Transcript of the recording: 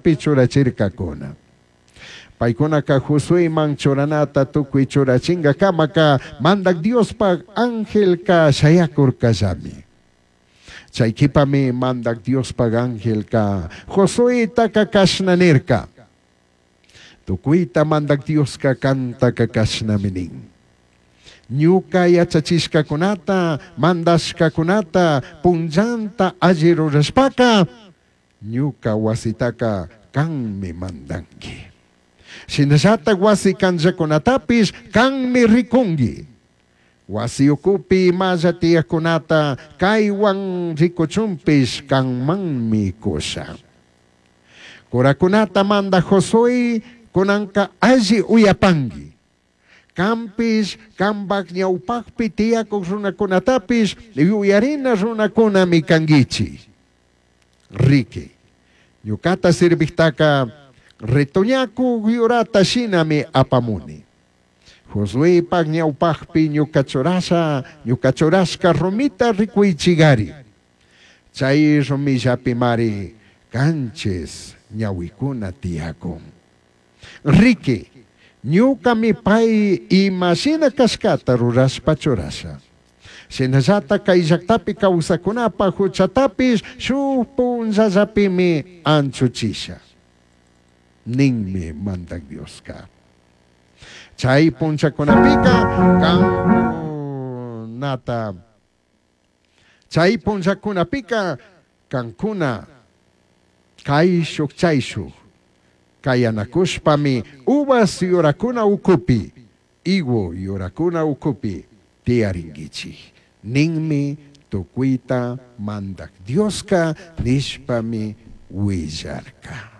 patapi churachircacuna. Paicunaca Josueman churanata tucui churachingacamaca Mandaj Diospaj angelca shayacurcallami. Chai quipami Mandaj Diospaj angelca Josuetaca cashna nirca: Tucuita Mandaj Diosca cantaca cashnami nin. Ñuca yachachishcacunata, mandashcacunata punllanta alli rurashpaca, ñuca huasitaca canmi mandangui. Shinallataj huasi canllacunatapish canmi ricungui. Huasi ucupi imalla tiyajcunata caihuan ricuchunpish canmanmi cusha. Curacunata mandaj Josué cunanca alli uyapangui. Canpish cambaj ñaupajpi tiyacuj runacunatapish yuyarina runacunami canguichij. Riqui, ñucata sirvijtaca retoñacuj yurata shinami apamuni. Josuepaj ñaupajpi ñuca churasha, ñuca churashca rumita ricuichigari. Chai rumillapimari canchis ñahuicuna tiyacun. Riqui, ñucami pai ima shina cashcata rurashpa churasha. Shinallataj cai llajtapi causajcunapaj juchatapish shuj punllallapimi anchuchisha. Ninmi Mandaj Diosca. Chai punllacunapica cancunata chai punllacunapica cancuna caishuj chaishuj cayanacushpami uvas yuracuna ucupi, higo yuracuna ucupi tiyaringuichij. Ninmi tucuita Mandaj Diosca nishpami huillarca.